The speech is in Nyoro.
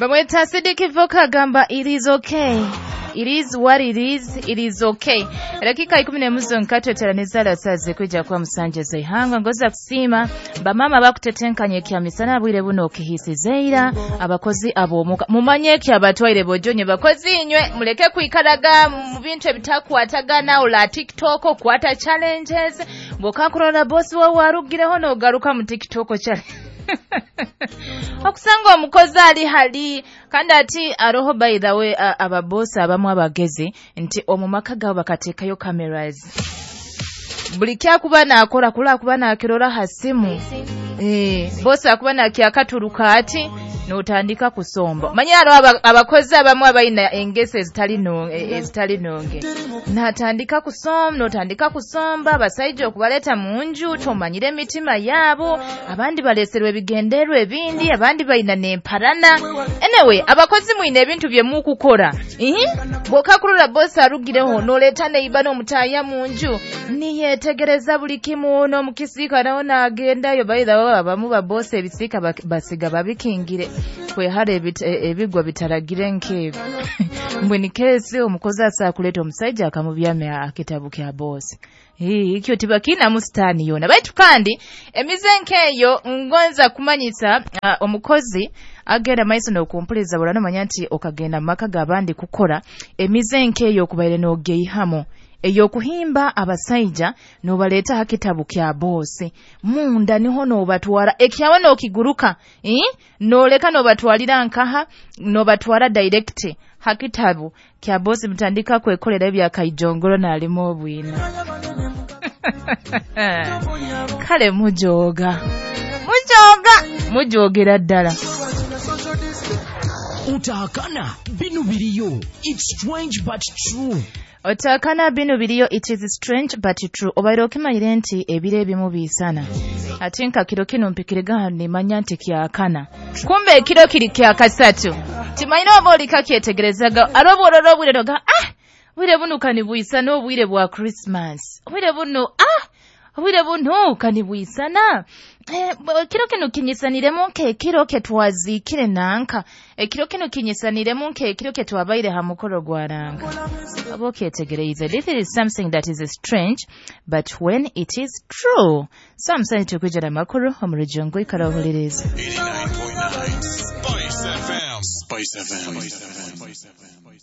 Bamweta Sidiki Voka agamba it is okay. It is what it is, it is okay. Dakika 11 zonka tweteraniza lasaze kwija kwa musanje zeihanga ngoza kusiima bamama bakutetenkanye kya misana bwire buno okihisizeira abakozi abomuka mumanye ki abatwaire bojonye bakozi inywe muleke kwikaraga mu bintu ebitakwatagana ola TikTok okwata challenges bwokakurora boss wawe arugireho nogaruka mu TikTok challenge. Okusanga omukozi ali hali kandi ati aroho, by the way, ababosi abamu abagezi nti omu maka gaabo bakateekayo cameras, buli kyakuba nakora kula kuba nakirora ha simu, bosi akuba nakyakaturuka ati notandika kusomba. Manye hariho abakozi abamu abaina engeso ezitali nonge, natandika kusomba, notandika kusomba abasaija okubaleta mu nju tomanyire emitima yaabo, abandi baleserwa ebigenderwa ebindi, abandi baina nemparana. Anyway, abakozi mwine ebintu bye mukukora, bwokakurora bosi arugireho noleta neiba n'omutaya mu nju niyetegereza buli kimu n'omukisiika naho nagendayo. By the way, abamu babosi ebisiika basiga babikingire kwehara ebigwa bitaragire nk'ebyo. Mbwe kesi omukozi asaa kuleta omusajja akamubyamya akitabu kya bosi, ikyo tibakina musitani yona. Baitu kandi emize nkeyo ngonza kumanyisa omukozi agenda maiso n'okumpuliza bula nomanya nti okagenda mu maka g'abandi kukora emize nkeyo okubaire n'ogeihamo eyokuhimba abasaija nobaleeta ha kitabu kya bosi munda niho nobatwara ekyawe nokiguruka, noleka nobatwalira nkaha, nobatwara direct ha kitabu kya bosi, mutandika kwekolera ebyakaijongoro nalimu obwina. Kale mujoga mujoga mujogera ddala. Utahakana binu biriyo. It's strange but true. Otakana binu biriyo, it is strange but true. Obaire okimanyire nti ebiro ebimu biisana, ati nka kiro kino mpikirega nimanya nti kyakana, kumbe ekiro kiri kyakasatu timanyire oba olikakyetegerezaga ari obworora obwire noga bwire buno kanibwisana obwire bwa Christmas, obwire buno obwire buno kanibwisana, ekiro kino kinyisaniremu nk'ekiro ketwaziikire nanka, ekiro kino kinyisaniremu nk'ekiro ketwabaire ha mukoro gwa ranga. Oba okyetegereize, this is something that is strange but when it is true. Samusani tukwijana amakuru omu rujungu ikara ohuliriza. 89.9 Spice FM. Spice FM. Spice FM.